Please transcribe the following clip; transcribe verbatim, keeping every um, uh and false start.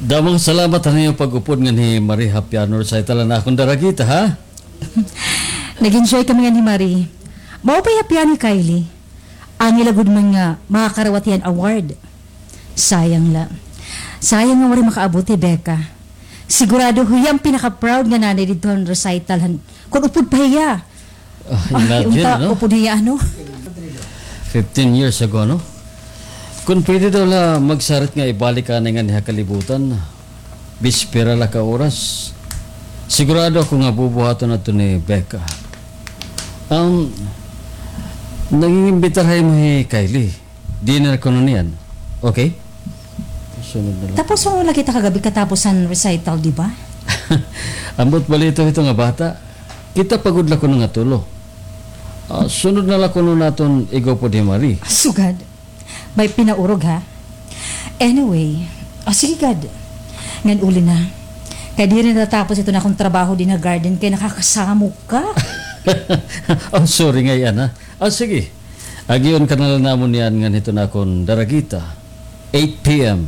Damo nga salamat han iyo pag-upod nganhi Marie ha piano recital han akon daragita, ha? Nag-enjoy kami nganhi Marie. Maupay ha piano hi Kylie. Angay la gud man nga makakarawat hiya hin award. Sayang la. Sayang nga waray makaabot hi Becca. Sigurado hiya an pinaka-proud nga nanay didto han recital han, kon upod pa hiya. Ah, imagine, unta, no? Upod hiya, ano? Fifteen years ago, no? Kon pwede daw la magsarit nga ibalik anay nganhi ha kalibutan. Bispera la ka oras. Sigurado ako nga bubuhaton adto ni Becca. Um, nangingimbitar ha imo hi Kylie. Dinner kuno niyan. Okay? Sunod na la. Tapos, ano la kita kagabi katapos han recital, di ba? Ambot balita hito nga bata. Kita pa gud la kuno nga tulo. Ah, sunod na la kuno naton igupod hi Marie. Sugad. May pinaurog, ha? Anyway, ah, sige gad. Ngan uli na. Kay diri natatapos iton akon trabaho dinhi ha garden kay nakakasamok ka. Oh, sorry ngay-an, ha? Ah, sige. Agion ka na la namon niyan ngan hiton akon daragita. Eight p.m.